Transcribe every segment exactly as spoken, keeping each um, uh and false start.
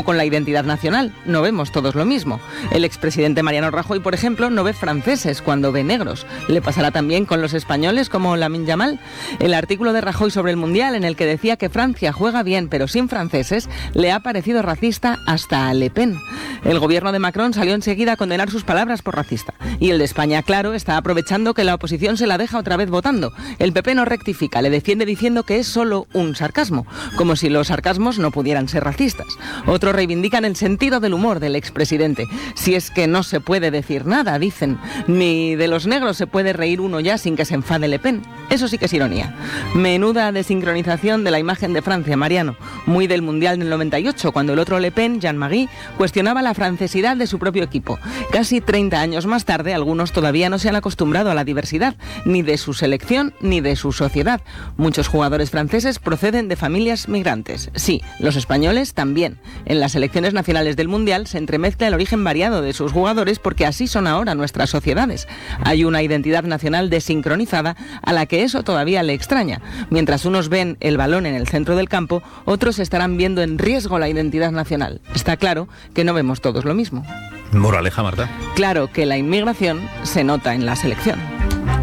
como con la identidad nacional, no vemos todos lo mismo. El expresidente Mariano Rajoy, por ejemplo, no ve franceses cuando ve negros. ¿Le pasará también con los españoles como Lamine Yamal? El artículo de Rajoy sobre el Mundial, en el que decía que Francia juega bien pero sin franceses, le ha parecido racista hasta a Le Pen. El gobierno de Macron salió enseguida a condenar sus palabras por racista. Y el de España, claro, está aprovechando que la oposición se la deja otra vez votando. El P P no rectifica, le defiende diciendo que es solo un sarcasmo, como si los sarcasmos no pudieran ser racistas. Otros reivindican el sentido del humor del expresidente. Si es que no se puede decir nada, dicen. Ni de los negros se puede reír uno ya sin que se enfade Le Pen. Eso sí que es ironía. Menuda desincronización de la imagen de Francia, Mariano. Muy del Mundial del noventa y ocho, cuando el otro Le Pen, Jean-Marie, cuestionaba la francesidad de su propio equipo. Casi treinta años más tarde, algunos todavía no se han acostumbrado a la diversidad, ni de su selección ni de su sociedad. Muchos jugadores franceses proceden de familias migrantes. Sí, los españoles también. En las selecciones nacionales del Mundial se entremezcla el origen variado de sus jugadores porque así son ahora nuestras sociedades. Hay una identidad nacional desincronizada a la que eso todavía le extraña. Mientras unos ven el balón en el centro del campo, otros estarán viendo en riesgo la identidad nacional. Está claro que no vemos todos lo mismo. Moraleja, Marta. Claro que la inmigración se nota en la selección.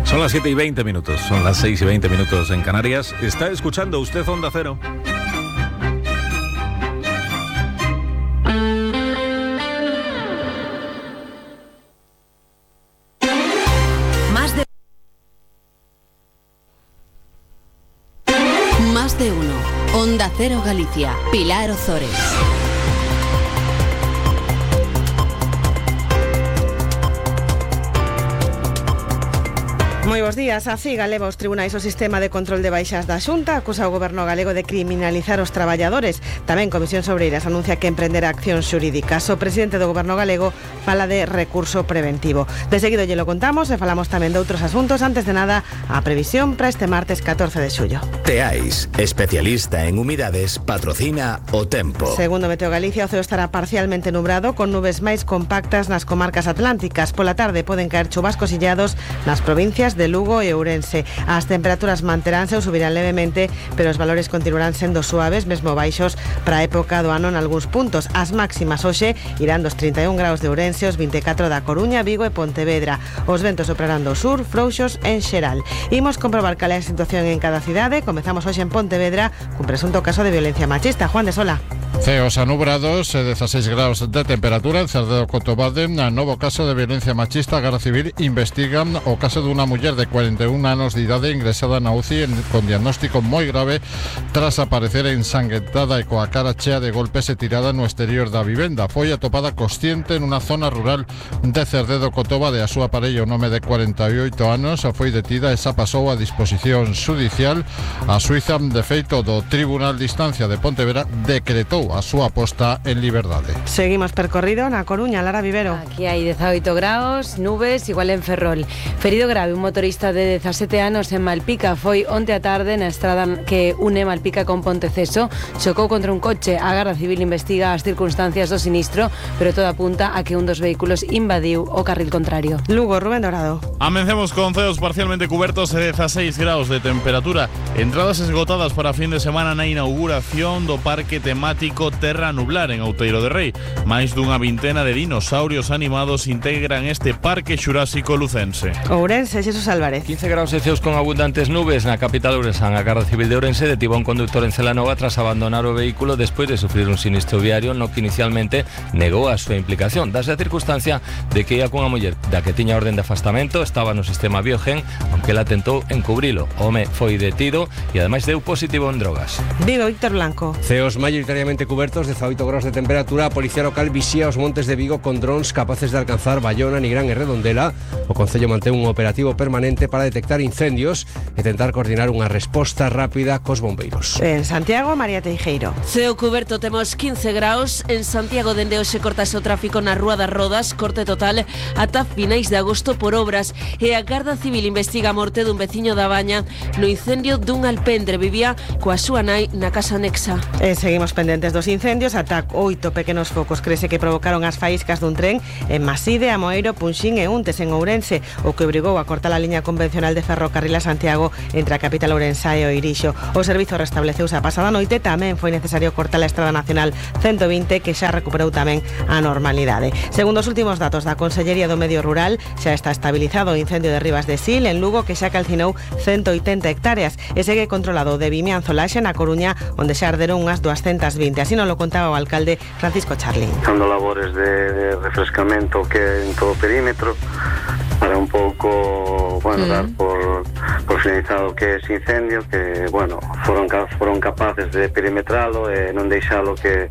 Son las siete y veinte minutos, son las seis y veinte minutos en Canarias. Está escuchando usted Onda Cero. Más de... Más de uno. Onda Cero Galicia. Pilar Ozores. Moi bos días. A CIG leva os tribunais o sistema de control de baixas da Xunta, acusa o goberno galego de criminalizar os traballadores. Tamén Comisións Obreiras anuncia que emprenderá accións xurídicas. O presidente do goberno galego fala de recurso preventivo. De seguido lle lo contamos e falamos tamén de outros asuntos. Antes de nada, a previsión para este martes catorce de xullo. Teais, especialista en humidades, patrocina o tempo. Segundo Meteo Galicia, o ceo estará parcialmente nubrado con nubes máis compactas nas comarcas atlánticas. Pola tarde poden caer chubascos illados nas provincias de Lugo e Ourense. As temperaturas manteránse ou subirán levemente, pero os valores continuarán sendo suaves, mesmo baixos para a época do ano en algúns puntos. As máximas hoxe irán dos trinta e un graus de Ourense, os vinte e catro da Coruña, Vigo e Pontevedra. Os ventos soprarán do sur, frouxos en xeral. Imos comprobar cal é a situación en cada cidade. Comezamos hoxe en Pontevedra cun presunto caso de violencia machista. Juan de Sola. Ceos anubrados, dieciséis graus de temperatura en Cerdedo Cotobade. Novo caso de violencia machista. A Garda Civil investiga o caso dunha muller de cuarenta e un anos de idade ingresada na U C I con diagnóstico moi grave tras aparecer ensanguentada e coa cara chea de golpes e tirada no exterior da vivenda. Foi atopada consciente nunha zona rural de Cerdedo Cotobade. A súa parella, o nome de cuarenta e oito anos, foi detida e xa pasou a disposición judicial. A Suiza, de feito, do Tribunal de Instancia de Pontevedra decretou a súa posta en liberdade. Seguimos percorrido na Coruña, Lara Vivero. Aquí hai dezaoito graus, nubes, igual en Ferrol. Ferido grave un motorista de dezasete anos en Malpica. Foi onte a tarde na estrada que une Malpica con Ponteceso. Chocou contra un coche. A Garda Civil investiga as circunstancias do sinistro, pero todo apunta a que un dos vehículos invadiu o carril contrario. Lugo, Rubén Dorado. Amencemos con ceos parcialmente cubertos e dieciséis graus de temperatura. Entradas esgotadas para fin de semana na inauguración do parque temático Terra Nublar en Outeiro de Rei. Máis dunha vintena de dinosaurios animados integran este parque xurásico lucense. Ourense, Xesús Álvarez. quince graus e ceos con abundantes nubes na capital ourensán. A Garda Civil de Ourense detivo a un conductor en Celanova tras abandonar o vehículo despois de sufrir un sinistro viario no que inicialmente negou a súa implicación. Dase a circunstancia de que ia cunha muller da que tiña orden de afastamento, estaba no sistema Biogen, aunque ela tentou encubrilo. O home foi detido e ademais deu positivo en drogas. Vigo, Víctor Blanco. Ceos maioritariamente cubertos, dezaoito graus de temperatura. A Policía Local vixía os montes de Vigo con drons capaces de alcanzar Bayona, Nigrán e Redondela. O Concello mantén un operativo permanente para detectar incendios e tentar coordinar unha resposta rápida cos bombeiros. En Santiago, María Teijeiro. Ceo cuberto, temos quince graus. En Santiago, dende hoxe cortase o tráfico na Rúa das Rodas, corte total ata finais de agosto por obras. E a Garda Civil investiga a morte dun veciño da Baña no incendio dun alpendre. Vivía coa súa nai na casa anexa. E seguimos pendentes causantes dos incendios ata oito pequenos focos crese que provocaron as faíscas dun tren en Maside, Amoeiro, Punxín e Untes en Ourense, o que obrigou a cortar a liña convencional de ferrocarril a Santiago entre a capital ourensá e o Irixo. O servizo restableceuse a pasada noite, tamén foi necesario cortar a Estrada Nacional ciento vinte, que xa recuperou tamén a normalidade. Segundo os últimos datos da Consellería do Medio Rural, xa está estabilizado o incendio de Rivas de Sil en Lugo, que xa calcinou ciento oitenta hectáreas e segue controlado de Vimianzo Laxe na Coruña, onde xa arderon unhas doscientas vinte. Así nos lo contaba o alcalde Francisco Charlín. Dando labores de, de refrescamento que en todo o perímetro para un pouco, bueno, mm. dar por, por finalizado que ese incendio, que, bueno, foron, foron capaces de perimetralo e non deixalo que,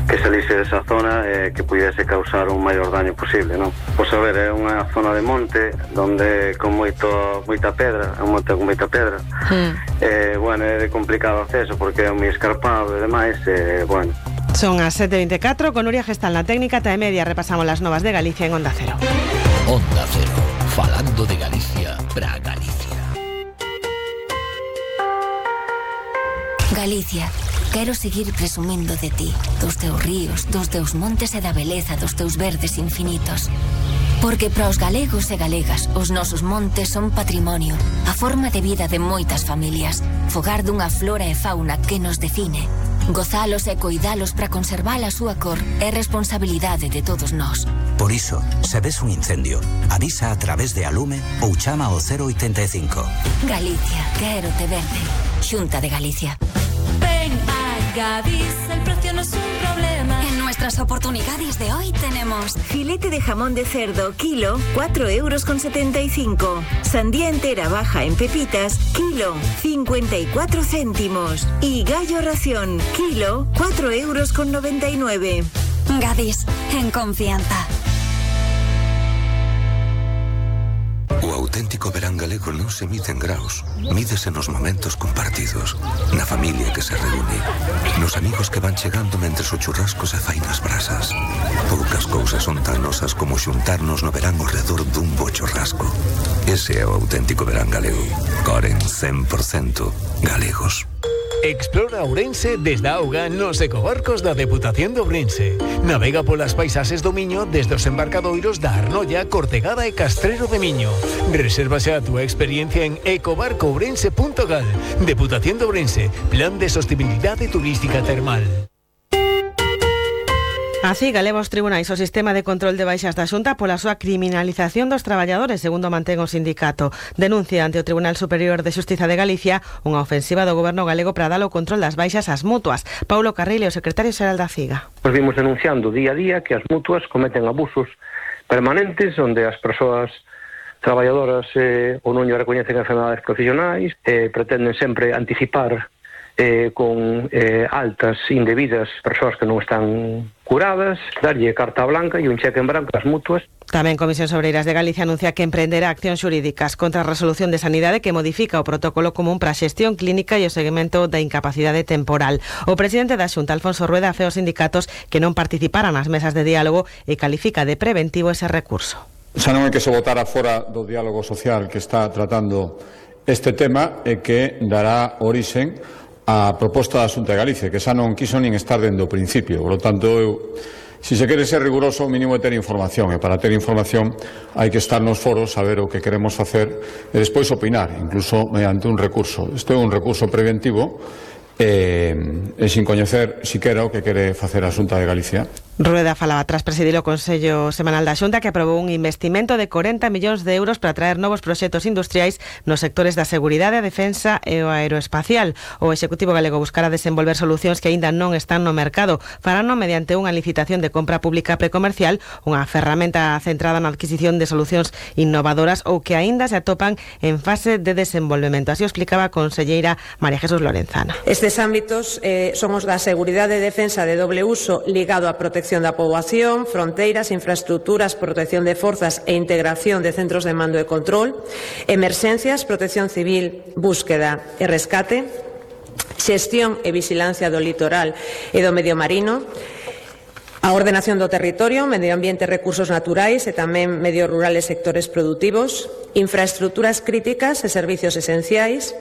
que salise desa zona e que pudiese causar un maior daño posible, non? Pois a ver, é unha zona de monte donde con moito, moita pedra, é un monte con moita pedra, mm. e, bueno, é de complicado acceso porque é moi escarpado e demais, e, bueno. Son as sete e veinticuatro, con Nuria Gestal na técnica, ta e media repasamos las novas de Galicia en Onda Cero. Onda Cero, falando de Galicia para Galicia. Galicia, quero seguir presumindo de ti, dos teus ríos, dos teus montes e da beleza dos teus verdes infinitos. Porque para os galegos e galegas, os nosos montes son patrimonio, a forma de vida de moitas familias, fogar dunha flora e fauna que nos define. Gozalos e coidalos para conservar a súa cor é responsabilidade de todos nós. Por iso, se ves un incendio, avisa a través de Alume ou chama ao cero oitenta e cinco. Galicia, quero te verde. Xunta de Galicia. Ven a Gadis, el precio no es un problema. En nuestras oportunidades de hoy tenemos filete de jamón de cerdo, kilo, cuatro euros con setenta y cinco. Sandía entera baja en pepitas, kilo, cincuenta y cuatro céntimos. Y gallo ración, kilo, cuatro euros con noventa y nueve. Gadis, en confianza. O auténtico verán galego non se mide en graus, mídese nos momentos compartidos, na familia que se reúne, nos amigos que van chegando mentres o churrasco se fai nas brasas. Poucas cousas son tan nosas como xuntarnos no verán ao redor dun bo churrasco. Ese é o auténtico verán galego. Coren cen por cento galegos. Explora Ourense desde a auga nos ecobarcos da Deputación de Ourense. Navega polas paisaxes do Miño desde os embarcadoiros da Arnolla, Cortegada e Castrero de Miño. Resérvase a túa experiencia en ecobarco ourense punto gal. Deputación de Ourense, Plan de Sostenibilidade Turística Termal. Así, galeva os tribunais o sistema de control de baixas da Xunta pola súa criminalización dos traballadores, segundo mantén o sindicato. Denuncia ante o Tribunal Superior de Xustiza de Galicia unha ofensiva do goberno galego para dar o control das baixas ás mutuas. Paulo Carril, o secretario xeral da C I G A. Nos vimos denunciando día a día que as mutuas cometen abusos permanentes onde as persoas traballadoras eh, ou non lle recoñecen enfermedades profesionais, eh, pretenden sempre anticipar Eh, con eh, altas indebidas persoas que non están curadas, darlle carta blanca e un cheque en branco ás mutuas. Tamén Comisión Sobreiras de Galicia anuncia que emprenderá accións xurídicas contra a resolución de Sanidade que modifica o protocolo común para a xestión clínica e o seguimento da incapacidade temporal. O presidente da Xunta, Alfonso Rueda, fe aos sindicatos que non participaran nas mesas de diálogo e califica de preventivo ese recurso. Xa non é que se votara fora do diálogo social que está tratando este tema e que dará orixen a proposta da Xunta de Galicia, que xa non quiso nin estar dende o principio. Por lo tanto, eu, se se quere ser riguroso, o mínimo é ter información, e para ter información hai que estar nos foros, saber o que queremos facer e despois opinar, incluso mediante un recurso. Isto é un recurso preventivo e, e sin coñecer siquera o que quere facer a Xunta de Galicia. Rueda falaba tras presidir o Consello Semanal da Xunta que aprobou un investimento de corenta millóns de euros para traer novos proxectos industriais nos sectores da seguridade, a defensa e o aeroespacial. O Executivo galego buscará desenvolver solucións que aínda non están no mercado. Farano mediante unha licitación de compra pública precomercial, unha ferramenta centrada na adquisición de solucións innovadoras ou que aínda se atopan en fase de desenvolvemento. Así o explicaba a conselleira María Jesús Lorenzana. Estes ámbitos eh, son os da seguridade e defensa de doble uso ligado á protección da poboación, fronteiras, infraestructuras, protección de forzas e integración de centros de mando e control, emerxencias, protección civil, búsqueda e rescate, xestión e vixilancia do litoral e do medio marino, A ordenación do territorio, medio ambiente e recursos naturais e tamén medio rural e sectores produtivos, infraestructuras críticas e servicios esenciais,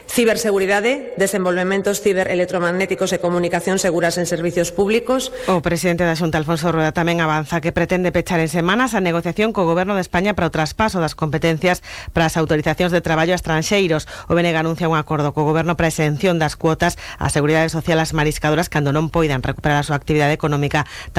ciberseguridade, desenvolvementos ciberelectromagnéticos e comunicación seguras en servicios públicos. O presidente da Xunta, Alfonso Rueda, tamén avanza que pretende pechar en semanas a negociación co Goberno de España para o traspaso das competencias para as autorizacións de traballo a estranxeiros. O B N G anuncia un acordo co Goberno para a exención das cuotas á Seguridade Social ás mariscadoras cando non poidan recuperar a súa actividade económica